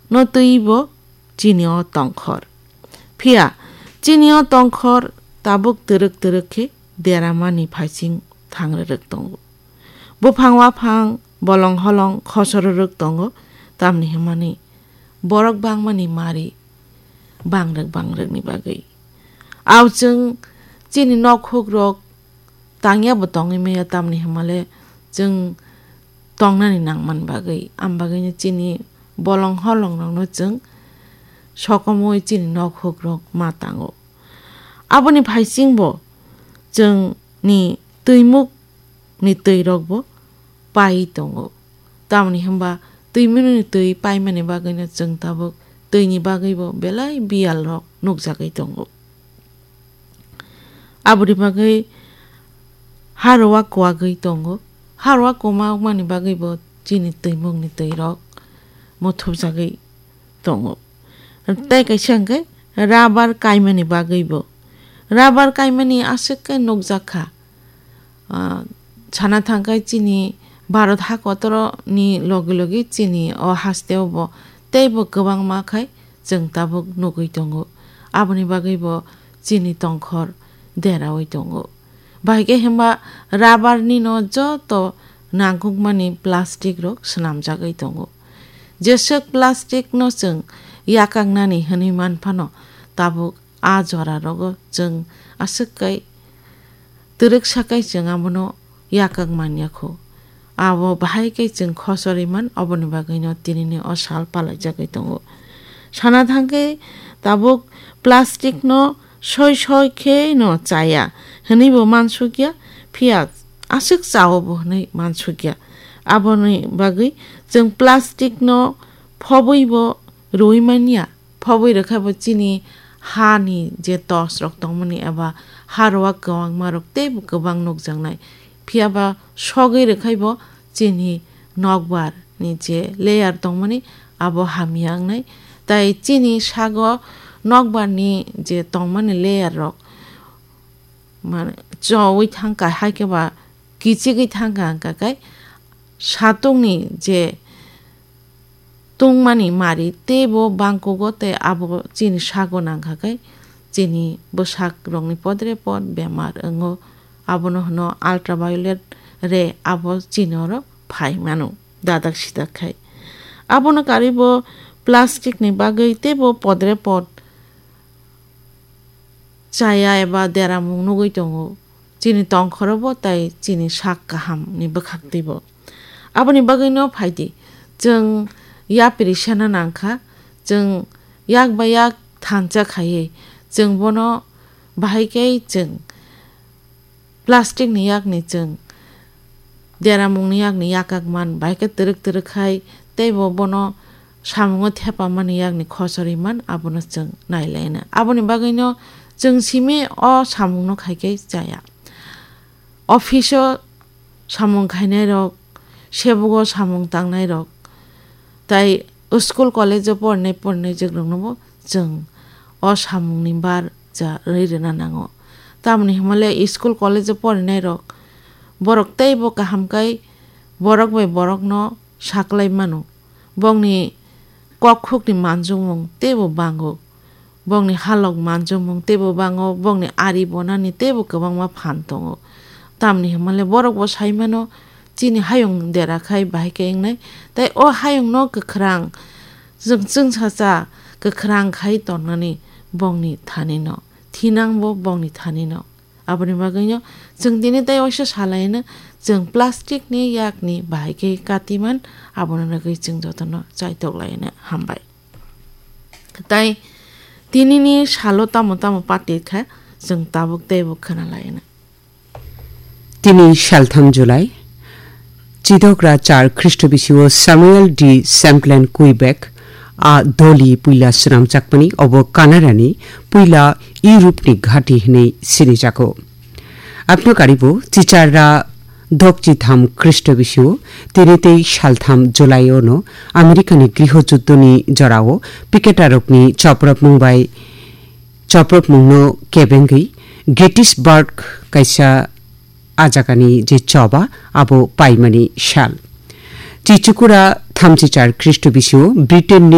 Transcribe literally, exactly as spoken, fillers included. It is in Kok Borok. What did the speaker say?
no twibo chini o tongkhor. Phiya chini o tongkhor tabuk twrwk twrwk khe deramani phaising thangrwrwk tongo. Buphang waphang bolong holong khosororwk tongo, tamni hwnmani borok bangmani mari bangrwk bangrwkni bagwi. Ao chwng chini nok hukrok tangya bo tongwi maya, tamni hwnmale chwng tongnani nangmani bagwi. Am bagwino chini bolong holongrokno chwng sokomwi chini nok hukrok ma tango. Aboni phaisingbo chwngni twimukni twirokbo pai tongo. Tamoni hwnba twimukni twi paimani bagwino chwng tabuk twini bagwibo belai biyalrok nukjagwi tongo. Aboni bagwi haroa kuagwi tongo. Haroa kwma wngmani bagwibo chini twimukni twirok muthupjagwi tongo. Tei kaisa hwnkhe rabar kaimani bagwibo. Rabar kaimani aswk khe nukjak kha. Ah, sana thangkhe chini Bharat hakotorni logi logi chini o hasteo bo teibo kwbangma khai chwng tabuk nugwi tongo. Aboni bagwibo chini tongkhor deraui tongo. Bahai khe hwnba rabar ni no joto nangkukmani plastic rok swnamjagwi tongo. Jeswk plastic no chwng yakaknani hwnwi manphano, tabuk a jora rogo chwng aswk kai twrwksa kai chwng abono yakak manya kho. Abo bahai khe chwng khochorwi man, oboni bagwino tinini o sal palaijagwi tongo. Sana thangkhe tabuk plastic no soi soi khe no chaya hwnwi bo mansukya, phiya aswk chao bo hwnwi mansukya. Aboni bagwi chwng plastic no phobwi bo rwui manya. Phobwi rwkha bo chini ha ni je tos rok tongmani eba haroa kwbangma rok teibo kwbang nukjaknai. Phiya ba sogwi rwkhai bo chini nokbar ni je layer tongmani abo hamya wngnai. Tai chini sago nokbar ni je tongmani layer rok mane chowi thangkha, hai khe ba kichigwi thangkha, hwnkha khe satung ni je tungmani mari teibo bangkugo, tei abo chini sago nangkha khe chini bwsak rokni podre pod bemar wngo. Abono hwno ultraviolet ray, abo chini oro phai mano dadak sidak khai. Abono karwi bo plastic ni bagwi teibo podre pod chaya eba deramung nugwi tongo. Chini tongkhoro bo tai chini sak kaham ni bwkhak twi bo. Aboni bagwi no phai di, chwng yapri sana nangkha, chwng yak bai yak thansa khaiwi chwng bono bahai khe chwng plastic ni yak ni chwng deramungni yakni yakak man, bai khe twrwk twrwk khai teibo bono samungo thepamani yakni khochorwi man, abono chwng nailaina. Aboni bagwino chwng simi o samungno khai khe chaya. Office-o samung khainairok, sebugo samung tangnairok, tai school college-o porinai porinai jwkroknobo chwng o samungni bar cha rwi rwna nango. Tamoni hwnmale school college-o porinairok borok teibo kaham kai borok bai borokno saklai mano. Bongni kokkhukni manjukmung teibo bango. Bongni halok manjukmung teibo bango, bongni ari bonani teibo kwbangma phan tongo. Tamni hwnmale borok bo sai mano, chini hayung dera khai bahai khe wngnai. Tai o hayungno kwkhwrang, chwng chwngsacha kwkhwrang khai tonnani bongni thanino, thinangbo bongni thanino. Aboni bagwino chwng tini tei waisa salaino chwng plastic ni yakni bahai khe katiman, abono nugwi chwng jotono chaitok laino hambai. Tai tinini salo tamo tamo pati kha chwng tabuk teibo khwna laino. Tini saltham July, Chidokra char Khristo bisio Samuel D. Champlain Quebec a doli puila swnamjakmani obo Canada ni puila Europe ni ghati hwnwi sinijago. Abno karibo chicharra dokchitham Khristo bisio tini tei saltham July o no America ni griho juddho ni jorao piketarokni chopropmung bai chopropmungno kebengwi Gettysburg kaisa a jagani je choba abo paimani sal. Chichukura thamchi char Khristo bisio Britain ni